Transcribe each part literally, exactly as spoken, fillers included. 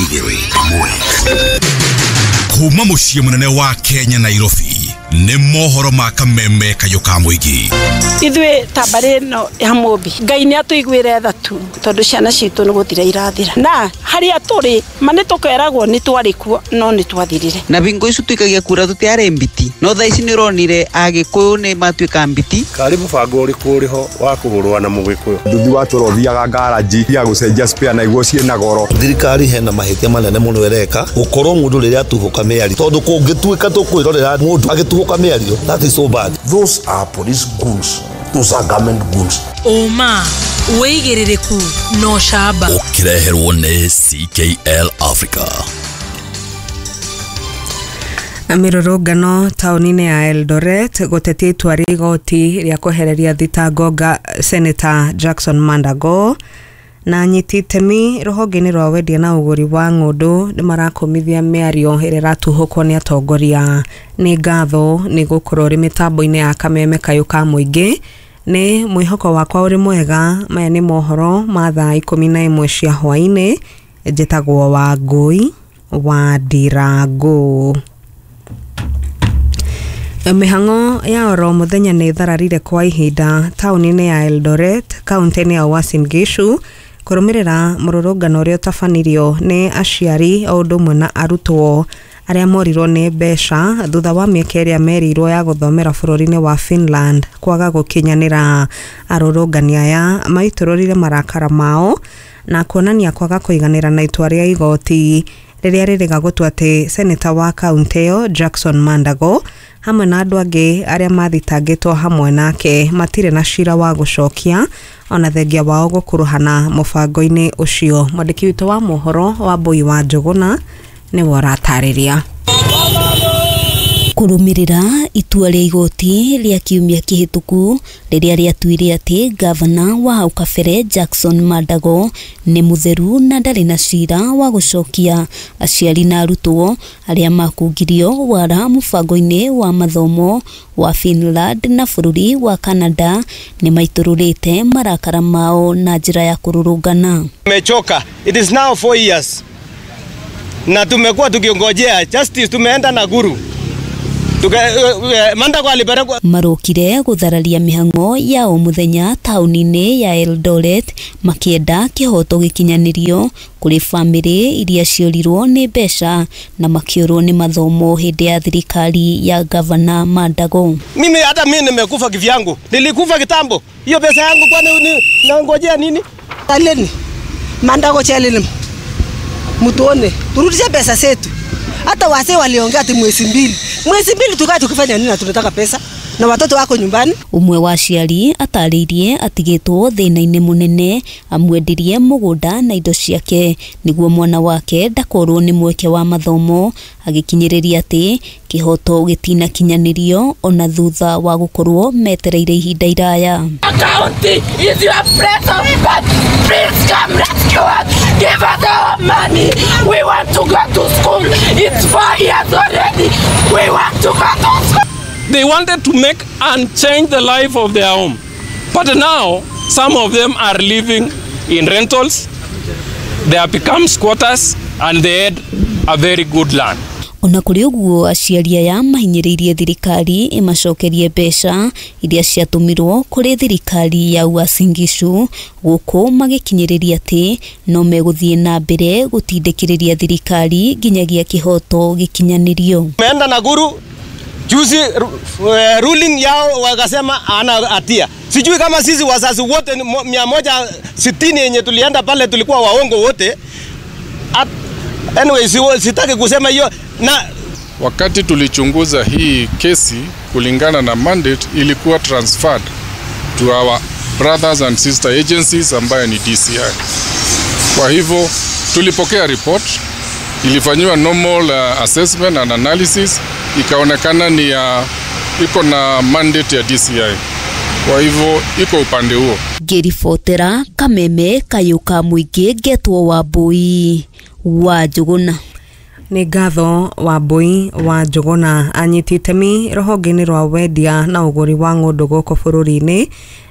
Igĩrĩ ĩmwe. Kuma mũciĩ mũnene wa Kenya, Nairobi, nĩ mohoro ma Kameme Kayũ ka Mũingĩ. Ithuĩ ta mbarĩ ĩno ya Mũmbi, Ngai nĩ atũiguĩre tha tu, tondũ ciana citũ nĩ gũthira irathira, na harĩa tũrĩ ma nĩ tũkeragwo nĩ twarĩ kuo, no nĩ twathirire. Na bingo icu tuikagia kura tutiarĩ mbiti, no thaa ici nĩ ũronire Agĩkũyũ nĩ matuĩka mbiti. Karĩ mũbango ũrĩkũ ũrĩho wa kũgũrwa na Mũgĩkũyũ? Nduthi watũra ũthiaga ngaraji ya gũcenjia spare na iguo ciĩna goro. Thirikari hena mahĩtia manene mũno ĩreka gũkorwo mũndũ rĩrĩa atuhũka mĩario, tondũ kũngĩtuĩka tũkwĩrorera mũndũ agĩtuhũka mĩario, that is so bad. Those are police goons. Those are government goons. Ũma, wĩigĩrĩrĩku na ũcamba. Ũkĩreherwo nĩ C K L Africa. Mĩrũrũngano taũni-inĩ ya Eldoret gũtetia itua rĩa igoti rĩa kwehereria thitango nga Senator Jackson Mandago. Na anyiti itemi rũhonge-inĩ rwa wendia na ũgũri wa ng'ũndũ nĩ marakũmithia mĩario ĩrĩa ĩratuhũkwo nĩ atongoria. Nĩ ngatho nĩ gũkorwo ũrĩ mĩtambo-inĩ ya Kameme Kayũ ka Mũingĩ. Nĩ mwĩhoko wakwa ũrĩ mwega. Maya nĩ mohoro ma thaa ikũmi na ĩmwe cia hwaĩ-inĩ. Njĩtagwo Wangũi wa Ndirangũ. Mĩhang'o ya oro mũthenya nĩ ĩthararire kwa ihinda taũni-inĩ ya Eldoret, kaunti-inĩ ya Uasin Gishu, kũrũmĩrĩra mũrũrũngano ũrĩa ũtabanirio nĩ aciari o ũndũ ũmwe na arutwo arĩa morirwo nĩ mbeca thutha wa mĩeke ĩrĩa merirwo ya gũthomera bũrũri-inĩ wa Finland kwaga gũkinyanĩra. Arũrũngani aya maitũrũrire marakara mao na kuonania kwaga kũiganĩra na itua rĩa igoti rĩrĩa rĩrĩga gũtua atĩ seneta wa kaunti ĩyo Jackson Mandago hamwe na andũ angĩ arĩa mathitangĩtwo hamwe nake matirĩ na cira wa gũcokia, ona thengia wao gũkuruhana mũbango-inĩ ũcio. Mwandĩki witũ wa mohoro wa Mbui wa Njũgũna nĩwe ũratarĩria. Kũrũmĩrĩra itua rĩa igoti rĩa kiumia kĩhĩtũku rĩrĩa rĩatuire atĩ gavana wa hau kabere Jackson Mandago nĩ mũtheru na ndarĩ na cira wa gũcokia, aciari na arutwo arĩa makungirio wara mũbango-inĩ wa mathomo wa Finland na bũrũri wa Canada nĩ maitũrũrĩte marakara mao na njĩra ya kũrũrũngana. Tumechoka. It is now four years. Na tumekuwa tukiongojea justice, tumeenda Nakuru. Tuka, uh, Mandago alipelekwa. Marokire gũthararia mĩhang'o ya o mũthenya taũni-inĩ ya Eldoret makĩenda kĩhoto gĩkinyanĩrio kũrĩ bamĩrĩ iria ciorirwo nĩ mbeca na makĩũrwo nĩ mathomo hĩndĩ ya thirikari ya gavana Mandago. Mimi hata mimi nimekufa kivyangu. Nilikufa kitambo. Hiyo pesa yangu kwani ni nangojea nini? Aleni Mandago chelini mutuone turudishe pesa zetu. Hata wazee waliongea ati mwezi mbili. Mwezi mbili tukaa tukifanya nini na tunataka pesa na watoto wako nyumbani? Umwe wa aciari atarĩirie atigĩtwo thĩna-inĩ mũnene amwendirie mũgũnda na indo ciake nĩguo mwana wake ndakorwo nĩ mweke wa mathomo, agĩkinyĩrĩria atĩ kĩhoto gĩtinakinyanĩrio ona thutha wa gũkorwo metereire ihinda iraya. County is your place of birth. Please come rescue us. Give us our money. We want to go to school. It's four years already. We want to go to school. They wanted to make and change the life of their home. But now, some of them are living in rentals. They have become squatters and they had a very good land. Ona kũrĩ ũguo, aciari aya mahinyĩrĩirie thirikari ĩmacokerie mbeca iria ciatũmirwo kũrĩ thirikari ya Uasin Gishu, gũkũ magĩkinyĩrĩria atĩ no megũthiĩ na mbere gũtindĩkĩrĩria thirikari nginyagia kĩhoto gĩkinyanĩrio. Tumeenda Nakuru juzi, uh, ruling yao wakasema ana hatia. Sijui kama sisi wazazi wote mia moja sitini yenye tulienda pale tulikuwa waongo wote. At, anyway, sitaki kusema hiyo. Na wakati tulichunguza hii kesi kulingana na mandate, ilikuwa transferred to our brothers and sister agencies ambayo ni D C I. Kwa hivyo tulipokea report, ilifanyiwa normal uh, assessment and analysis, ikaonekana ni ya iko na mandate ya D C I. Kwa hivyo iko upande huo. Ngĩribotera Kameme Kayũ ka Mũingĩ, ngetwo Wambui wa Njũgũna. Nĩ ngatho Wambui wa Njũgũna. Anyiti itemi rũhonge-inĩ rwa wendia na ũgũri wa ng'ũndũ gũkũ bũrũri-inĩ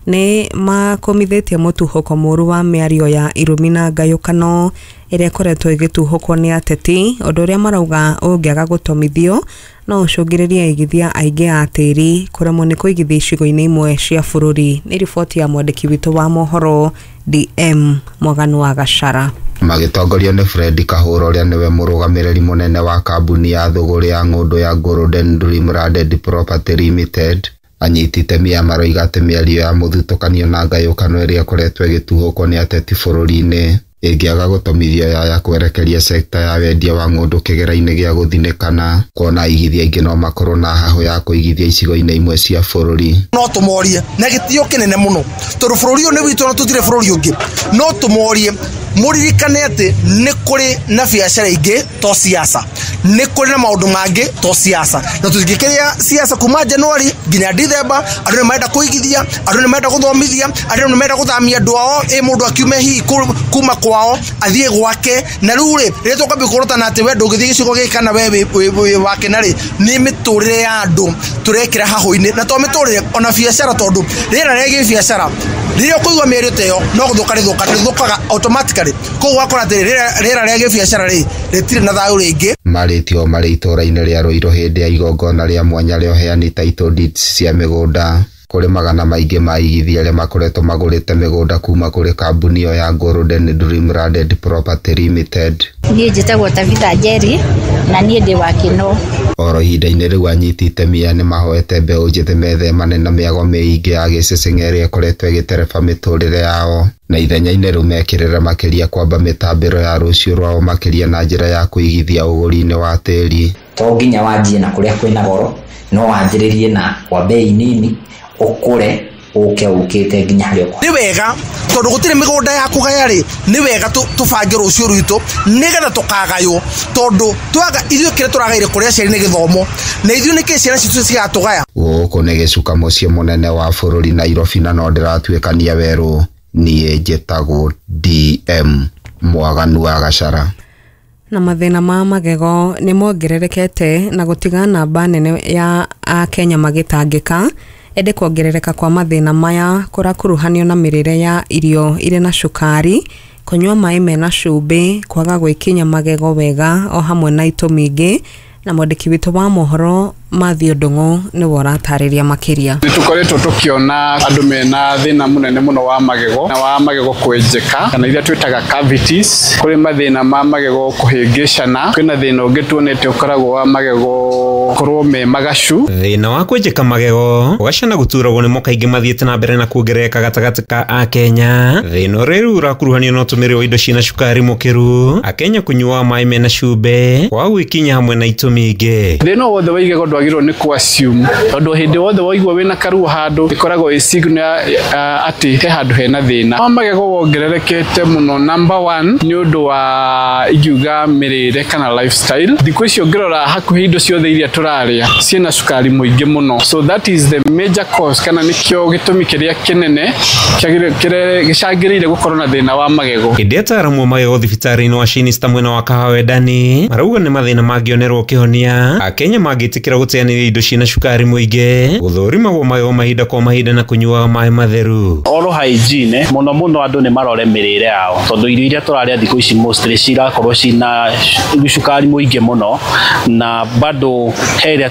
Nĩ makũmithĩtie mũtuhũko mũru wa mĩario ya irumi na ngayũkano ĩrĩa ĩkoretwo ĩgĩtuhũkwo nĩ ateti, ũndũ ũrĩa marauga ũngĩaga gũtomithio no ũcũngĩrĩrie aigithia aingĩ a tĩri kũremwo nĩ kũigithia icigo-inĩ imwe cia bũrũri. Nĩ riboti ya mwandĩki witũ wa mohoro D M Mwaganu wa Gachara. Magĩtongorio nĩ Fred Kahũra ũrĩa nĩwe mũrũgamĩrĩri mũnene wa kambuni ya thũgũrĩ ya ng'ũndũ ya Golden Dream Landed Property Limited, anyiti itemi aya maroiga atĩ mĩario ya mũthutũkanio na ngayũkano ĩrĩa ĩkoretwo ĩgĩtuhũkwo nĩ ateti bũrũri-inĩ ĩngĩaga gũtomithio yaya kwerekeria sekta ya wendia wa ng'ũndũ kĩgera-inĩ gĩa gũthinĩkana, kuona aigithia aingĩ no makorwo na hahũ ya kũigithia icigo-inĩ imwe cia bũrũri. No tũmorie na gĩtĩo kĩnene mũno tondũ bũrũri ũyũ nĩ witũ na tũtirĩ bũrũri ũngĩ. No tũmorie mũririkane atĩ nĩ kũrĩ na biacara ingĩ to siasa, nĩ kũrĩ na maũndũ mangĩ to siasa, na tũtingĩkĩria siasa kuma January nginya December. Andũ nĩ marenda kũigithia, andũ nĩ marenda gũthomithia, andũ nĩ marenda gũthamia andũ ao, ĩ mũndũ akiume hihi kuma kwao athiĩ gwake. Na rĩu rĩ, rĩrĩa tũkwambia kũrotana atĩ we ndũngĩthiĩ gĩcigo gĩkĩ kana we wĩ wake, na rĩ nĩ mĩtũrĩre ya andũ tũrekĩra hahũ-inĩ, na to mĩtũrĩre ona biacara, tondũ rĩera rĩa gĩbiacara rĩrĩa ũkũigua mĩario ta ĩyo no gũthũka rĩthũka rĩthũkaga automatically. Koguo ũgakora atĩ rĩera rĩa gĩbiacara rĩ rĩtirĩ na thayũ rĩngĩ. Marĩtio marĩ itũũra-inĩ rĩa Ruiru hĩndĩ ya igongona rĩa mwanya rĩa ũheani title deeds cia mĩgũnda kũrĩ magana maingĩ ma aigithia arĩa makoretwo magũrĩte mĩgũnda kuma kũrĩ kambuni ĩyo ya Golden Dream Landed Property Limited. Niĩ njĩtagwo Tabitha Njeri na niĩ ndĩ wa Kĩno. Oro ihinda-inĩ rĩu anyiti itemi aya nĩmahoete mbeũ njĩthĩ methemane na mĩago mĩingĩ ya gĩceceng'e ĩrĩa ĩkoretwo ĩgĩtereba mĩtũrĩre yao, na ithenya-inĩ rĩu mekĩrĩre makĩria kwamba mĩtambĩro ya rũciũ rwao makĩria na njĩra ya kũigithia ũgũri-inĩ wa tĩri. To nginya wanjie na kũrĩa kwĩna goro, no wanjĩrĩrie na kwa bei nini ũkũre ũke ũkĩte nginya harĩa ũkũ. Nĩ wega tondũ gũtirĩ mĩgũnda ya kũgaya rĩ, nĩ wega tũbange rũciũ rwitũ nĩgetha tũkagaywo, tondũ twaga ithuĩ kĩrĩa tũragaire kũrĩ aciari nĩ gĩthomo, na ithuĩ nĩkĩ ciana citũ cigatũgaya. Gũkũ nĩ gĩcuka mũciĩ mũnene wa bũrũri Nairobi, na no ndĩratuĩkania werũ. Niĩ njĩtagwo D M Mwaganu wa Gachara. Na mathĩna ma magego nĩ mongererekete na gũtiga namba nene ya Akenya magĩtangĩka, ĩndĩ kuongerereka kwa mathĩna maya kũrakuruhanio na mĩrĩre ya irio irĩ na cukari, kũnyua maĩ mena cumbĩ, kwaga gwĩkinya magego wega o hamwe na itũmi ingĩ. Na mwandĩki witũ wa mohoro Mathew Ndung'u nĩwe ũratarĩria makĩria. Nĩ tũkoretwo tũkĩona andũ mena thĩna mũnene mũno wa magego na wa magego kwenjeka kana iria twĩtaga cavities. Kũrĩ mathĩna ma magego kũhĩngĩcana, kwĩna thĩna ũngĩ tuonete ũkoragwo wa magego korwo me magacu. Thĩna wa kwenjeka magego ũgacana gũturagwo nĩmo kaingĩ mathiĩte na mbere na kuongerereka gatagatĩ ka Akenya. Thĩna ũrĩa rĩu ũrakuruhanio na ũtũmĩri wa indo ciĩna cukari mũkĩru, Akenya kũnyua maĩ mena cumbĩ, kwaga gwĩkinya hamwe na itũmi ingĩ. Thĩna wothe wa igego ndwagĩrĩirwo nĩ kũ assume, tondũ hĩndĩ wothe waigua wĩna karuo handũ ĩkoragwo ĩ signal atĩ he handũ hena thĩna. Wa magego wongererekete mũno number one nĩ ũndũ wa ingiuga mĩrĩre kana lifestyle. Thikũ ici ũngĩrora hakuhĩ indo ciothe iria tũrarĩa ciĩna cukari mũingĩ mũno, so that is the major cause kana nĩkĩo gĩtũmi kĩrĩa kĩnene gĩcangĩrĩire gũkorwo na thĩna wa magego. Hĩndĩ ataaramu a magego thibitarĩ-inĩ wa Shinista mwena wa Kahawendani marauga nĩ mathĩna mangĩonerwo kĩhonia Akenya mangĩtĩkĩra gũteanĩria indo ciĩna cukari mũingĩ, gũthũrimagwo magego mahinda kwa mahinda na kũnyuaga maĩ matheru. Oral hygiene mũno mũno andũ nĩ marore mĩrĩre yao, tondũ irio iria tũrarĩa thikũ ici mostly cirakorwo cina cukari mũingĩ mũno, na bado he ĩrĩa